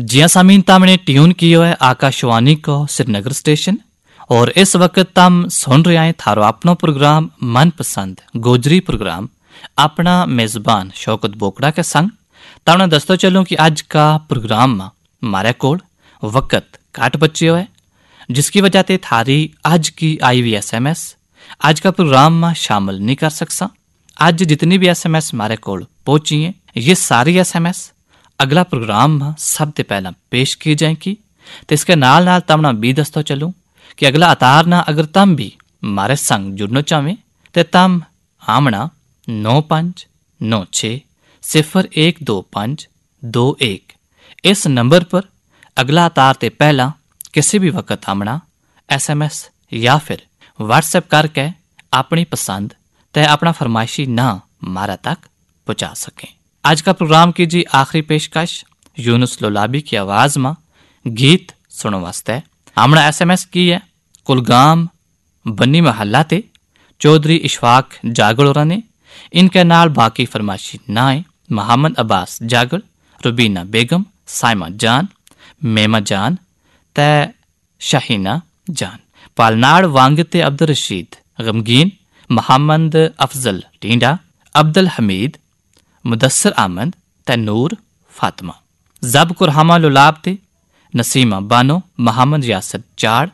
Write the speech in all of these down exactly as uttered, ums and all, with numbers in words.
جی हाँ सामीन, तमने ट्यून कियो है आकाशवाणी को श्रीनगर स्टेशन और इस वक्त तम सुन रहे हैं थारो अपनो प्रोग्राम मनपसंद गोजरी प्रोग्राम अपना मेजबान शौकत बोकड़ा के संग। तमने दस्तो चलूं कि आज का प्रोग्राम में मारे कोल वक्त काट बच्यो है, जिसकी वजह ते थारी आज की आई हुई एसएमएस आज का प्रोग्राम में शामिल नहीं कर सकसा। आज जितनी भी एसएमएस मारे कोल पहुंची हैं, ये सारी एसएमएस अगला प्रोग्राम में सबसे पहला पेश की जाएगी। तो इसके नाल नाल तमना भी दस्तो चलूं कि अगला अतार ना अगर तम भी मारे संग जुड़ना चाहें तो तम आमना नौ पाँच नौ छः सिफर एक दो पाँच दो एक इस नंबर पर अगला अतार ते पहला किसी भी वक्त आमना एसएमएस या फिर WhatsApp करके अपनी पसंद ते अपना फरमाइशी ना मारा तक पहुंचा सकें। आज का प्रोग्राम की जी आखिरी पेशकश यूनुस लोलाबी की आवाज में गीत सुनो वास्ते हमने एसएमएस की है कुलगाम बन्नी महल्ला ते चौधरी इशफाक जागल होरां ने। इनके नाल बाकी फरमाइशी ना है मोहम्मद अब्बास जागल, रुबीना बेगम, साइमा जान, मेमा जान ते शाहीना जान। पालनाड़ वांग ते अब्दुल रशीद गमगीन, मोहम्मद अफजल टींडा, अब्दुल हमीद, मुदस्सर अहमद ते नूर फातिमा। जब कुरहामा लुलाब ते नसीमा बानो, मोहम्मद यासर चाड़,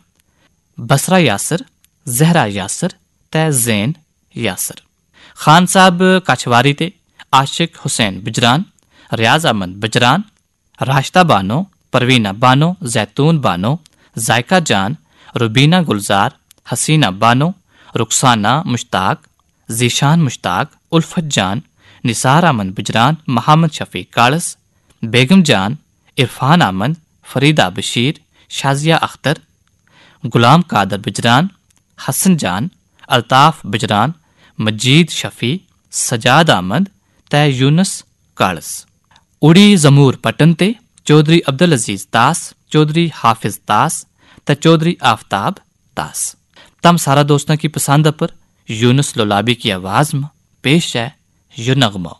बसरा यासर, जहरा यासर ते जैन यासर। खान साहब कछवारी ते आशिक हुसैन बजरान, रियाज अहमद बजरान, राशदा बानो, परवीना बानो, जैतून बानो, जायका जान, रुबीना गुलजार, हसीना बानो, रुखसाना मुश्ताक, जीशान मुश्ताक, उल्फत जान, निसार अहमद बजरान, मोहम्मद शफीक कालस, बेगम जान, इरफान अहमद, फरीदा बशीर, शाजिया अख्तर, गुलाम कादर बजरान, हसन जान, अल्ताफ बजरान, मजीद शफी, सजाद अहमद ते यूनुस कालस। उड़ी जमूर पटन ते चौधरी अब्दुल अजीज तास, चौधरी हाफिज तास ते चौधरी आफताब तास। तम सारा दोस्तों की पसंद पर यूनुस लोलाबी की आवाज में पेश है यो नगमो।